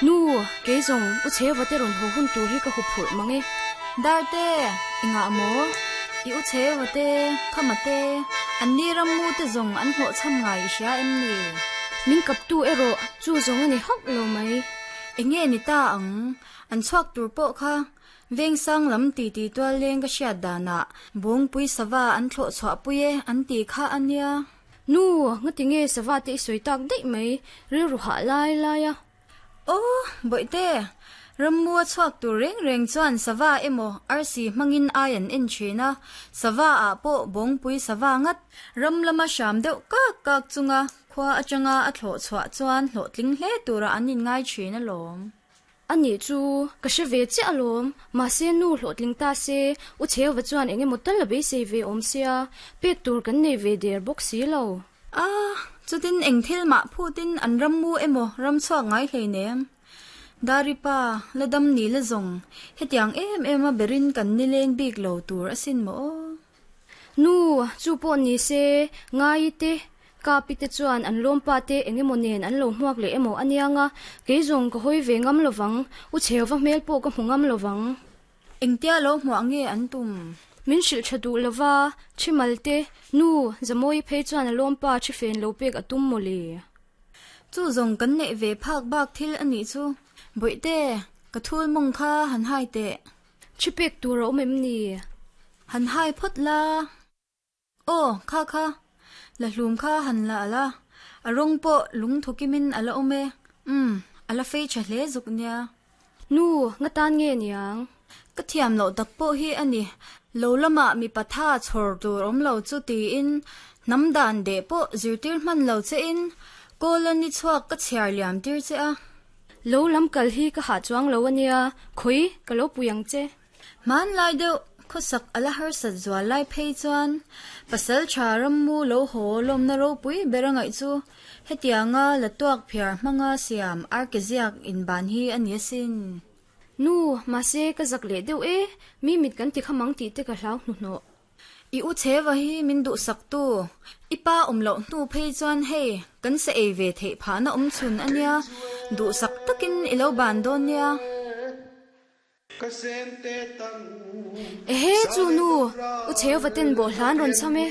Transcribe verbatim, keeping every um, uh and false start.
Nu, kei zawng u chheu te rawn haw hun tur hi ka huphurh mang e. Darte, inga maw? I u chheu te, khama te, an ni ram mu te zawng an hlawh chham ngai i hria em ni? Min kap tu erawh chu zawng a ni hauh lo mai. Enge ni ta ang, an chhuak tur pawh kha veng sang lam ti ti tual leng ka hriat danah bawngpui sava an thlawh chhuah pui e an ti kha ania. Nu, ngati nge sava te i sawi tak daih mai, rilru hah lai lai a. Oh, bawihte, rammu a chhuak tur reng reng chuan sava emaw arsi hmangin ai an en thin a, sava ah pawh bawngpui sava ngat ram lama hram deuh kak kak chunga khua atanga a thlawh chhuah chuan hlawhtling hle tura an in ngai thin alawm. Ani chu ka hre ve che alawm, mahse nu hlawhtling ta se u chheu va chuan engemaw tal la beisei ve awm sia, pek tur kan nei ve der bawk si lo. Ah, chutin eng thil mah phutin an rammu emaw ram chhuak ngai hlei nem. Daripa, la dam ni la zawng, hetiang em em a berin kan ni leng bik lo tur asin maw. Nu, chu pawh ni se, ngai te, kapi te chuan an lawm pa te engemaw nen an lo hmuak leh emaw anianga, kei zawng ka hawi ve ngam lovang, u chheu va hmel pawh ka hmu ngam lovang. Engtia lo hmuah nge an tum? Min hrilh tha duh lova, thimal te, nu, zamawi phei chuan a lawm pa thi fen lo pek a tum maw le. Chu zawng kan neih ve phak bak thil ani chu. Bawihte, ka thul mawng kha han hai teh. Thi pek tur a awm em ni? Han hai phawt la. Aw, kha kha. La hlum kha han la ala. A rawng pawh lung thokimin ala awm e. Um, ala fei tha hle zuk nia. Nu, nga tan nge niang? Ka thiam lo tak pawh hi ani. Lo lama mi patha chhor tur awm lo chu tiin nam dan de pawh zirtir hman lo che in kolan ni chhuak ka chhiar liam tir che a. Lo lam kal hi ka ha chuang lo ania, khoi ka lo puyang che. Man lai deuh khusak ala har sat zual lai phei chuan pasal tha rammu lo haw lawm na ropui berangai chu hetianga la tuak phiar hmanga siam arkeziak in ban hi ani asin. Nu, mahse ka zak leh deuh e, mi mit kan ti khamang ti te ka hlau hnu hnaw. I u chhewa hi min duh sak tu. I pa awm loh hnu phei chuan hei kan se ei ve theih pha na awm chhun ania, duh sak takin i lo ban dawn nia. Ehe chu nu, u chheu va ten bo hlan rawn cham e.